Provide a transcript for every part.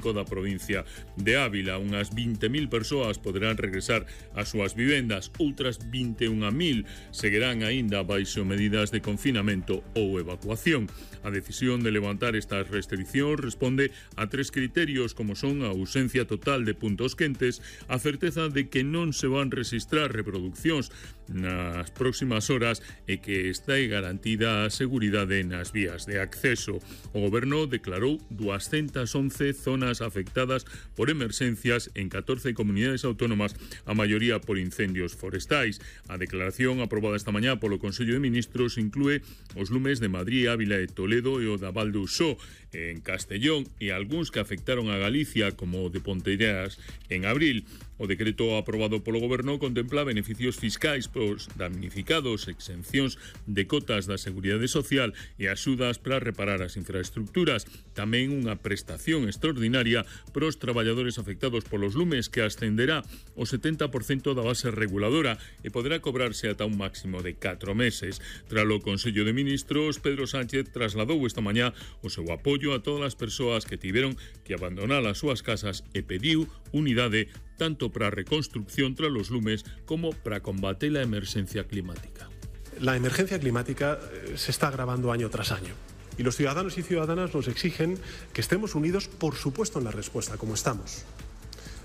da provincia de Ávila. Unhas 20.000 persoas poderán regresar ás súas vivendas, outras 21.000 seguirán aínda baixo medidas de confinamento ou evacuación. A decisión de levantar estas restriccións responde a 3 criterios, como son a ausencia total de puntos quentes, a certeza de que non se van registrar reproduccións nas próximas horas e que está garantida a seguridade nas vías de acceso. O Goberno declarou 211 zonas afectadas por emerxencias en 14 comunidades autónomas, a maioría por incendios forestais. A declaración aprobada esta mañá polo Consello de Ministros inclúe os lumes de Madrid, Ávila e Toledo e o da Val do Usó en Castellón e algúns que afectaron a Galicia, como o de Ponteiras en abril. O decreto aprobado polo Goberno contempla beneficios fiscais pros damnificados, exencións de cotas da Seguridade Social e axudas para reparar as infraestructuras. Tamén unha prestación extraordinaria pros traballadores afectados polos lumes que ascenderá o 70% da base reguladora e poderá cobrarse ata un máximo de 4 meses. Tralo Consello de Ministros, Pedro Sánchez trasladou esta mañá o seu apoio a todas as persoas que tiveron que abandonar as súas casas e pediu unidade tanto para a reconstrucción tras los lumes como para combater la emergencia climática. La emergencia climática se está agravando año tras año y los ciudadanos y ciudadanas nos exigen que estemos unidos, por supuesto, en la respuesta, como estamos,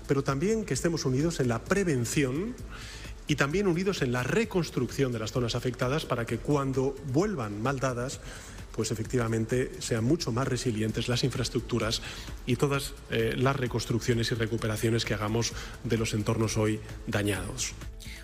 pero también que estemos unidos en la prevención y también unidos en la reconstrucción de las zonas afectadas para que cuando vuelvan mal dadas, pues efectivamente sean mucho más resilientes las infraestructuras y todas las reconstrucciones y recuperaciones que hagamos de los entornos hoy dañados.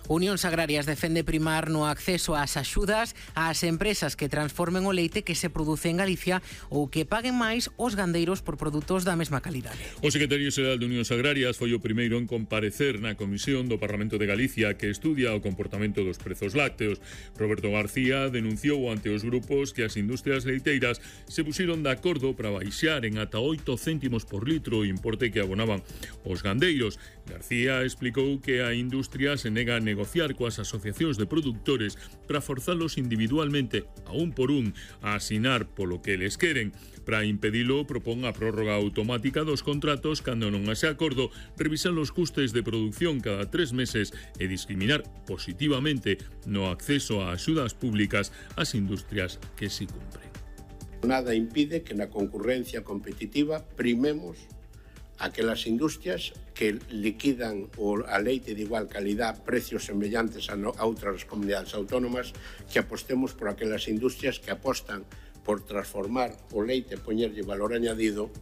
Unións Agrarias defende primar no acceso ás axudas ás empresas que transformen o leite que se produce en Galicia ou que paguen máis os gandeiros por produtos da mesma calidade. O secretario xeral de Unións Agrarias foi o primeiro en comparecer na Comisión do Parlamento de Galicia que estudia o comportamento dos prezos lácteos. Roberto García denunciou ante os grupos que as industrias leiteiras se puxeron de acordo para baixar en ata 8 céntimos por litro o importe que abonaban os gandeiros. García explicou que a industria se nega a negociar coas asociacións de produtores para forzalos individualmente, a un por un, a asinar polo que eles queren. Para impedilo, propón a prórroga automática dos contratos cando non haxe acordo, revisar os custes de produción cada 3 meses e discriminar positivamente no acceso a axudas públicas ás industrias que si cumpren. Nada impide que na concurrencia competitiva primemos aquelas industrias que liquidan a leite de igual calidad a precios semellantes a outras comunidades autónomas, que apostemos por aquelas industrias que apostan por transformar o leite e poñerlle valor añadido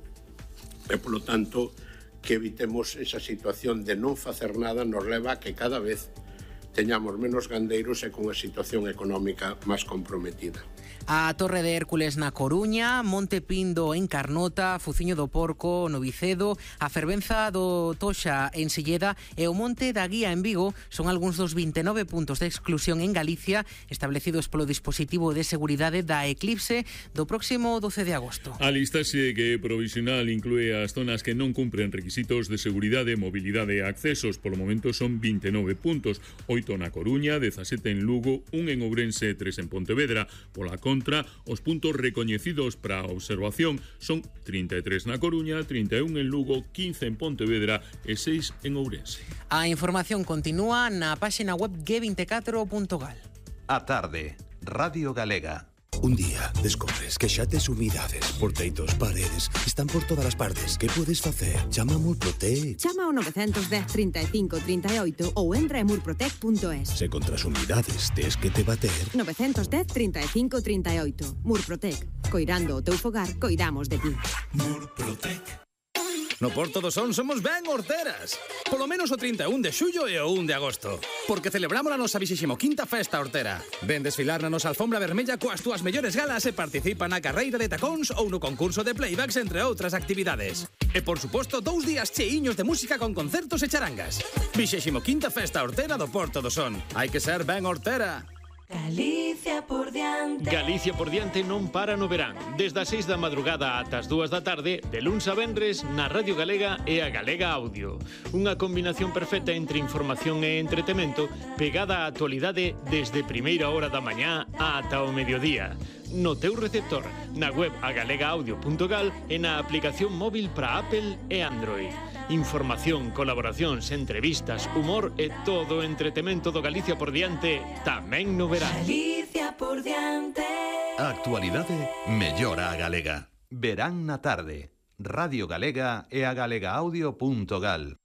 e, polo tanto, que evitemos esa situación de non facer nada nos leva a que cada vez teñamos menos gandeiros e cunha situación económica máis comprometida. A Torre de Hércules na Coruña, Monte Pindo en Carnota, Fuciño do Porco no Vicedo, a Fervenza do Toxa en Silleda e o Monte da Guía en Vigo son algúns dos 29 puntos de exclusión en Galicia establecidos polo dispositivo de seguridade da Eclipse do próximo 12 de agosto. A listaxe que provisional inclúe as zonas que non cumpren requisitos de seguridade, mobilidade e accesos. Polo momento son 29 puntos, 8 na Coruña, 17 en Lugo, 1 en Ourense e 3 en Pontevedra. Pola contra, os puntos recoñecidos para a observación son 33 na Coruña, 31 en Lugo, 15 en Pontevedra e 6 en Ourense. A información continúa na páxina web g24.gal. A tarde, Radio Galega. Un día descobres que xa tes humidades, porteitos, paredes, están por todas as partes. Que podes facer? Chama a Murprotec. Chama ao 910 35 38 ou entra en murprotec.es. Se contra as humidades tes que te bater. 910 35 38. Murprotec. Coirando o teu fogar, coidamos de ti. Murprotec. No Porto do Son somos ben horteras. Polo menos o 31 de xullo e o 1 de agosto. Porque celebramos a nosa 25ª festa hortera. Ven desfilar na nosa alfombra vermella coas túas mellores galas e participa na carreira de tacóns ou no concurso de playbacks, entre outras actividades. E, por suposto, 2 días cheiños de música con concertos e charangas. 25ª festa hortera do Porto do Son. Hai que ser ben hortera. Galicia por diante. Galicia por diante non para no verán. Desde as 6 da madrugada ata as 2 da tarde, de luns a venres, na Radio Galega e a Galega Audio. Unha combinación perfecta entre información e entretemento, pegada á actualidade desde primeira hora da mañá ata o mediodía. no teu receptor, na web agalegaudio.gal e na aplicación móvil para Apple e Android. Información, colaboracións, entrevistas, humor e todo o entretemento do Galicia por diante tamén no verán. Galicia por diante. A actualidade mellora a galega. Verán na tarde. Radio Galega e a galegaaudio.gal.